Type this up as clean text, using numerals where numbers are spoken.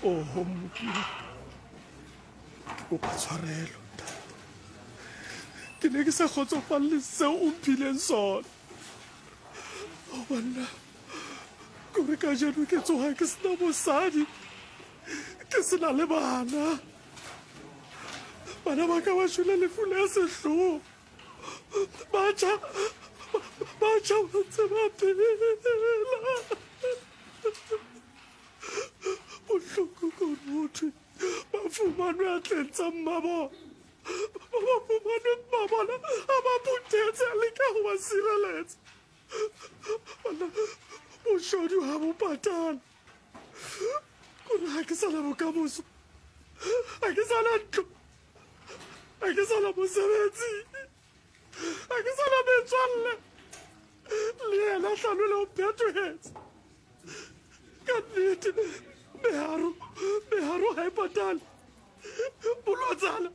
Oho Mmopi wa ka, ke kopa tshwarelo, Ntate. Ke ne ke sa kgotsofalle seo o mphileng sona. O banna, kore kajeno ke tsoha ke sena mosadi, ke sena le bana. Bana ba ka ba shwele lefu le sehloho. Batjha, batjha ba ntse ba phela. Bohloko ke hore ho thwe ba fumanwe atleng tsa mmabona. Ba ba fumanwe mmabona a ba phuthetse a leka ho ba sireletsa. Banna, boshodu ha bo patale. Kore ha ke sa na bokamoso, ha ke sa na ntlo, ha ke sa na mosebetsi, ha ke sa na metswalle. Le yena Hlalole o phetohetse. Ka nnete, meharo, meharo ha e patale. Bolotsana,